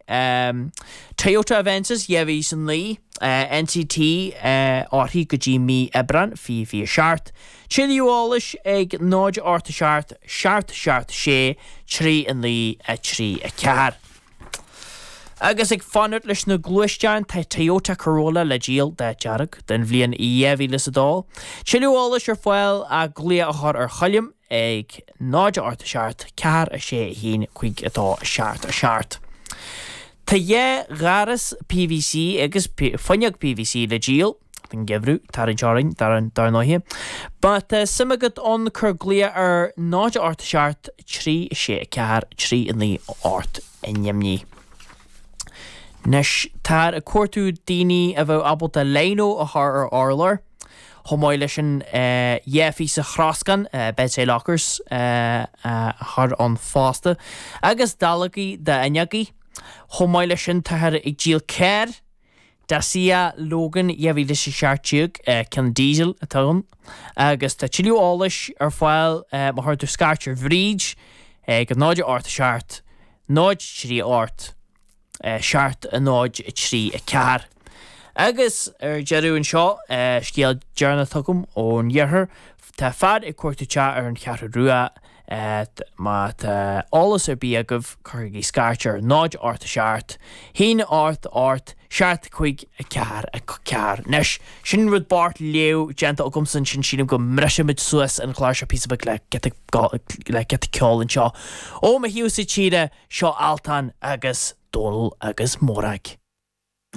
Toyota Avensis 2009, NCT uirthi go dtí mí Aibreán 2027. Tuilleadh eolais ag 0 8 7 7 7 6 3 9 3 4. Agus ag fanacht leis na gluaisteáin, tá Toyota Corolla le díol, dath dearg, den bhliain 2002. Tuilleadh eolais ar fáil ach glaoch a chur ar Choilm ag 0 8 7 4 6 1 5 2 7 7. Tá dhá dhoras PVC agus fuinneog PVC le díol don gheimhreadh, tarraingt orainn, dar ndóighe. Má tá suim agat ann cuir glaoch ar 0 8 7 3 6 4 3 9 8 i nDoimní. Anois, táthar ag cuartú daoine a bheadh ábalta lino a chur ar urlár, chomh maith leis an dhá phíosa throscán, bedside lockers, a chur ann fosta, agus dallógaí d'fhuinneogaí. Chomh maith leis sin, táthar ag díol carr, Dacia Logan 2017, ceann diesel atá ann, agus tá tuilleadh eolais ar fáil má chuir tú scairt ar Bhríd ag 0 8 7 0 3 8 7 0 3 4. Agus ar deireadh anseo, scéal deireanach atá agam ón iarthar, tá fear ag cuartú teach ar an Cheathrú Rua, má tá eolas ar bith agaibh, cuirigí scairt ar 0 8 7 1 8 8 7 5 4 4. Anois, sin rud bocht léamh déanta agamsa ansin, sílim go mbrisfimid suas an clár seo píosa beag le giota ceoil anseo. Ó mo thaobhsa tíre, seo Altan agus Dónal agus Morag.